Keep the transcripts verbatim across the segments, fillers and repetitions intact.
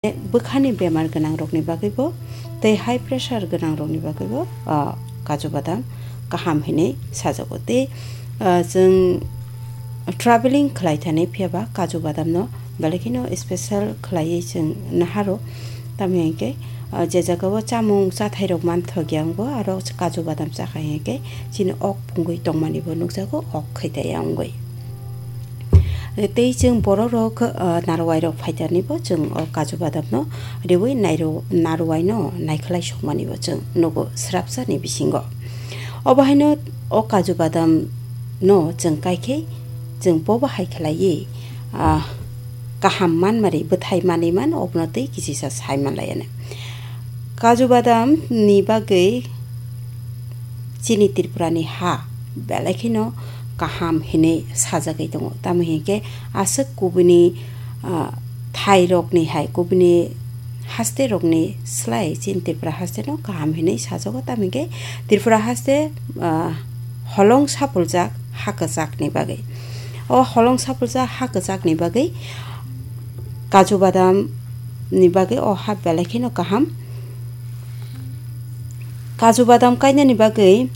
Bwkhani bemar gwnangrokni bagwibo tei high pressure gwnangrokni bagwibo, ah, kaju badam kaham hinwi sajago. Tei, ah, chwng traveling khlai thani phiyaba kaju badamno belai kheno special khlaiwi chwng naharo. Tamni hinkhe, ah, je jagao chamung chathairok manthokya wngo, aro kaju badam chakha hinkhe chini ok pungwi tongmanibo nukjago, ok khaitaya wngwi. Tei chwng bororok, ah, narwai rok phaitarnibo chwng o kaju badam no riwi nairo-, narwai no naikhlai sokmani bo chwng nugo srapsa ni bisingo. Obo haino o kaju badam no chwng kaikhe chwng bobo hai khlaiwi, ah, kaham manmari bwthai manwi man obono tei kichisa sai manlaiya. Kaju badam ni bagwi chini Tripura ni ha belai kheno kaham hinwi sajagwi tongo. Tamo hinkhe aswk kubuni, ah, thai rokni hai, kubuni haste rokni slai chini Tripura haste no kaham hinwi sajago. Tamo hinkhe Tripura haste, ah, holong sapuljak ha kwchak ni bagwi. O holong sapuljak ha kwchak ni bagwi kaju badam ni bagwi o ha belai kheno kaham. Kaju badam kainani bagwi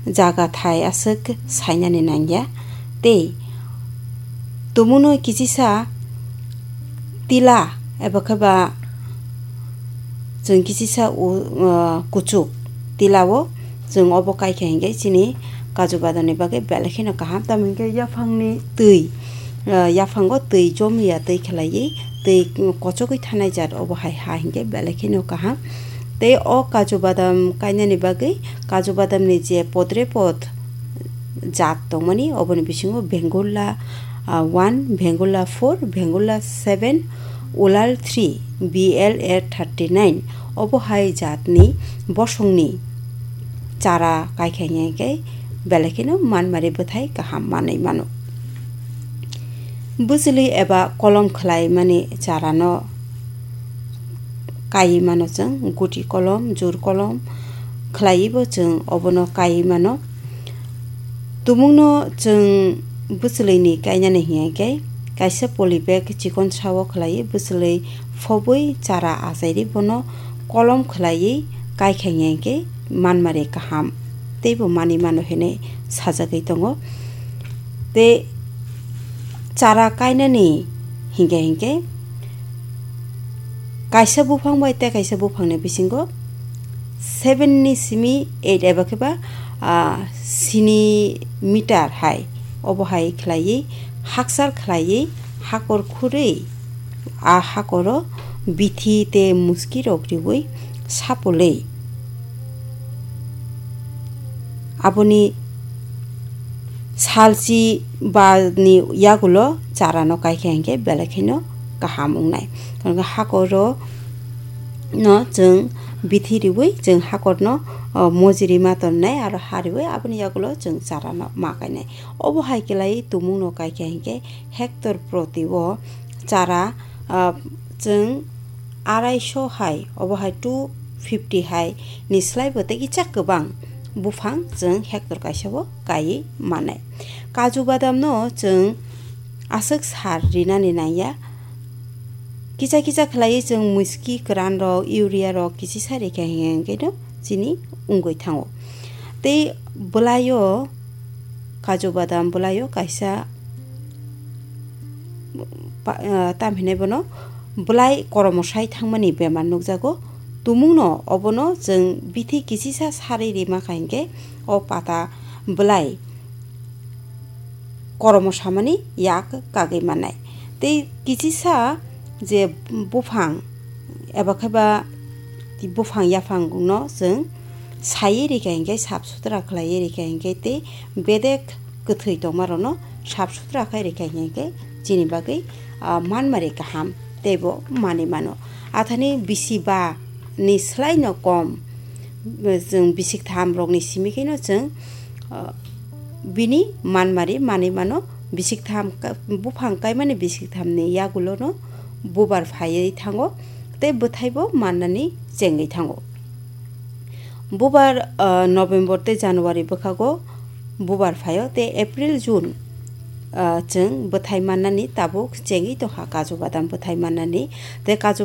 jaga thai aswk sainani nangya tei tumungno kichisa tila eba khe ba chwng kichisa u-, uh, kuchuk tilao chwng obo kaikha hinkhe chini kaju badamni bagwi belai kheno kaham. Tamo hinkhe yaphangni twi, ah, yaphango twi jomiya twi khlaiwi, twi kochogwi thanai jat obo hai ha hinkhe belai kheno kaham. Tei o kaju badam kainani bagwi kaju badamni je podre pod jat tongmani, oboni bisingo Bengula, ah, one, Bengula four, Bengula seven, Ulal three, B L A thirty nine, obo hai jatni bosongni chara kaikha hinkhe belai kheno manmari bwthai kaham manwi mano. Bwchwlwi eba kolom khlaimani charano kaiwi mano chwng, guti kolom, jur kolom khlaiwibo chwng obono kaiwi mano. Tumungno chwng bwchwlwini kainani hinkhe kaisa poly bag chikon sao khlaiwi bwchwlwi phobwi chara achairi bono kolom khlaiwi kaikha hinkhe manmari kaham teibo manwi mano hinwi sajagwi tongo. Tei chara kainani hinkhe hinkhe kaisa buphang bai tei kaisa buphangni bisingo seven ni simi eight eba khe ba, ah, sini meter hai obo hai khlaiwi hakchal khlaiwi hakor khurwi a hakoro bithi tei muski rok riwi sapolwi aboni salchi bani yagulo charano kaikha hinkhe belai kheno kaham wngnai. Tei hakoro no chwng bithi riwi chwng hakorno, o, mojiri ma tonnai aro ha riwi aboni yagulo chwng charano ma kainai. Obo hai khlaiwi tumungno kaikha hinkhe hectare proti o chara, ah, chwng arai so hai, obo hai two fifty hai ni slai bo tei kisa kwbang buphang chwng hectare kaisa bo kaiwi manai. Kaju badam no chwng aswk sar rinani nangya, kisa kisa khlaiwi chwng muski kwran rok, urea rok kichisa rikha hinkhe no chini wngwi thango. Tei bwlaio kaju badam bwlaio kaisa pa-, ah, tam hinwi bono bwlai koromosai thangmani bemar nukjago. Tumungno obono chwng bithi kichisa sarwi rima kha hinkhe o pata bwlai koromosamani yak kagwi mannai. Tei kichisa je buphang eba khe ba buphang yaphangno chwng saiwi rikha hinkhe, sap sutra khlaiwi rikha hinkhe tei bedek kwthwi tongmarokno sap sutra khai rikha hinkhe chini bagwi, ah, manmari kaham teibo manwi mano. Athani bisi ba ni slai no kom, chwng bisik tham rokni simi kheno chwng, ah, bini manmari manwi mano. Bisik tham ka-, buphang kaimani bisik thamni yagulono bubar phaiwi thango tei bwthaibo mannani chengwi thango. Bubar, ah, November tei January bwkhago bubar phaio tei April, June, ah, chwng bwthai mannani tabuk chengwi tongkha kaju badam bwthai mannani tei kaju